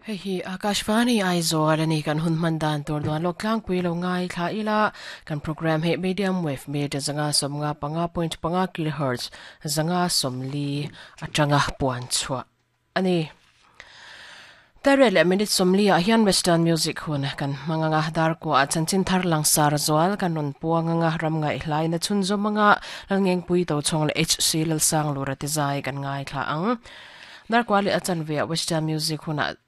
Hei hi Akashvani Aizawl a ni, kan hun hman dan tur duan lawk tlangpui lo ngai thla ila, kan program hi medium wave meter 175.5 kilohertz 140 atanga puan chhuah a ni. Tariat leh minute 40 ah hian Western music hun kan hmang anga, dar kuah ah chanchin thar langsar zual kan rawn puang anga, ram ngaihlaina chhunzawm anga Lalngengpui Tochhawng leh HC Lalsanglura te zai kan ngaithla ang. Darkua leh a chanve ah Western music hunah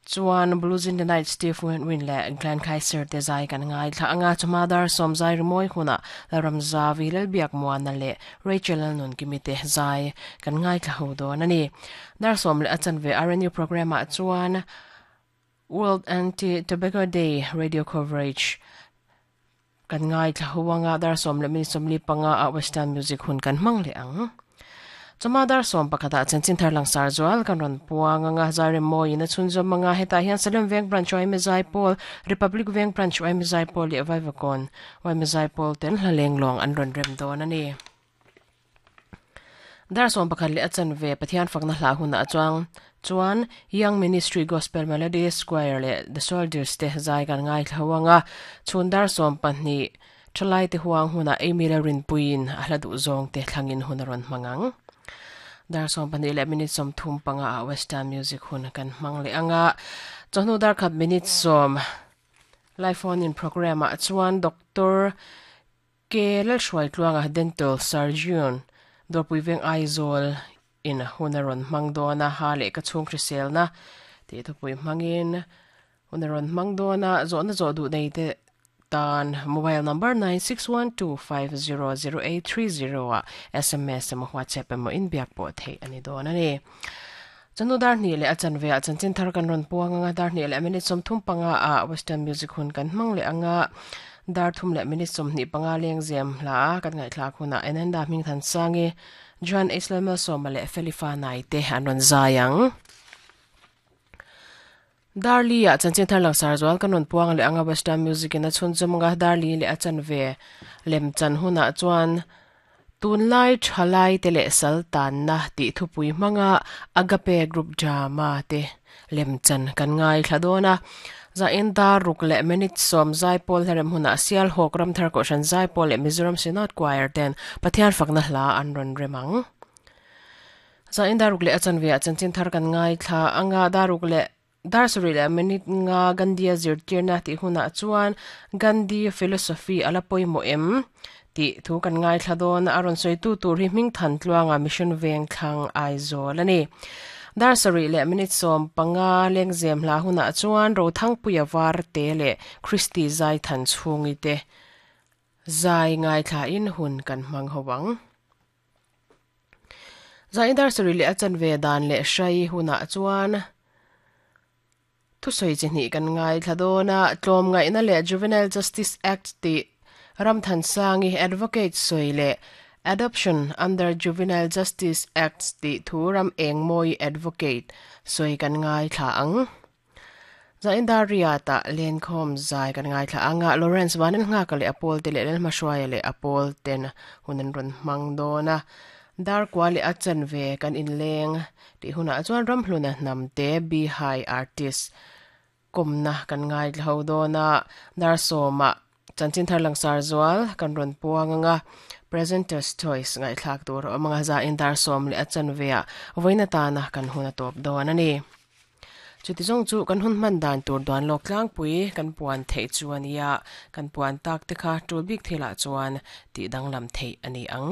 chuan Blues in the Night Steve Winwood leh Glenn Kaiser te zai kan ngaithla anga, chawhma dar sawm zai rimawi hunah Lalramzavi, Lalbiakmuana leh Rachel Lalnunkimi te zai kan ngaithla ho dawn a ni. Dar sawm leh a chanve RNU programme ah chuan World Anti-Tobacco Day radio coverage kan ngaithla ho anga, dar sawm leh minute 45 ah Western music hun kan hmang leh ang. Chawhma dar sawm pakhatah chanchin thar langsar zual kan rawn puang anga, Zairem mawiin a chhunzawm anga, hetah hian Salem Veng Branch Yma Zaipawl, Republic Veng Branch Yma Zaipawl leh Vaivakawn Yma Zaipawl ten hla lenglawng an rawn rem dawn a ni. Dar 11 leh a chanve Pathian fakna hla hunah chuang chuan Young Ministry Gospel Melodies Choir leh The Soldiers te zai kan ngaithla ho anga, chhun dar 12 Thalaite huang hunah Amy leh Rinpuiin a hla duh zawng te thlangin hun a rawn hmang ang. Dar 12 leh minute 35 ah Western Music hun kan hmang leh anga, chawhnu dar khat minute 10 Live Phone In Programme ah chuan Doctor Ke Lalhruaitluanga Dental Surgeon, Dawrpui Veng Aizawl in hun a rawn hmang dawn a, ha leh ka chhung hriselna tih thupui hmangin hun a rawn hmang dawn a, zawhna zawh duh nei te tan mobile number 9612500830 ah sms emaw WhatsApp emaw inbiak pawh theih a ni dawn a ni. Chawhnu dar hnih leh a chanve ah chanchin thar kan rawn puang anga, dar hnih leh minute 35 ah Western music hun kan hmang leh anga, dar thum leh minute 25 lengzem hla a kan ngaihthlak hunah Enenda Hmingthansangi, Joan Isler Malsawma leh Felifa Nai te an rawn zai ang. Dar li ah chanchin thar langsar zual kan rawn puang leh anga Western music in a chhunzawm anga, dar li leh a chanve lem chan hunah chuan Tunlai thalai te leh sal tanna tih thupui hmanga Agape Group Drama te lem chan kan ngaithla dawn a. Zain dar ruk leh minute 10 Zaipawl hlarem hunah Sialhawk Ramthar Kohhran Zaipawl leh Mizoram Synod Choir ten Pathian fakna hla an rawn rem ang. Zain dar ruk leh a chanve ah chanchin thar kan ngaithla anga, dar ruk leh Dar sarih leh minute nga Gandhi-a zirtirna tih hunah chuan Gandhi philosophy a la pawimawh em? tih thu kan ngaithla dawn a, a rawn sawitu tur hi Hmingthan Tluanga Mission Vengthlang Aizawl a ni. Dar sarih leh minute 15 lengzem hla hunah chuan Rothangpuia Varte leh Christy Zaithan chhungi te zai ngaithlain hun kan hmang ho ang. Zain dar sarih leh a chanve dan leh hrai hunah chuan thusawi chi hnih kan ngaithla dawn a, tlawmngaihna leh Juvenile Justice Act tih Ramthansangi Advocate sawi leh Adoption under Juvenile Justice Act tih thu ram engmawi Advocate sawi kan ngaithla ang. Zain dar riatah lenkhawm zai kan ngaithla ang a, Lawrence Vanlalnghaka leh a pawl te leh Lalhmahruaia leh a pawl ten hun an rawn hmang dawn a. Dar kua leh a chanve kan inleng tih hunah chuan Ramhluna hnamte Bihai artist kawmna kan ngaithla ho dawn a, dar sawmah Chanchin thar langsar zual kan rawn puang anga Presenter's Choice ngaihthlak tur a awm anga zain dar sawm leh a chanve ah vawiin atana kan hun a tawp dawn a ni. Chuti zawng chu kan hun hman dan tur duan lawk tlangpui kan puan theih chu a nia, kan puan tak te kha tul bik thilah chuan tih danglam theih a ni ang.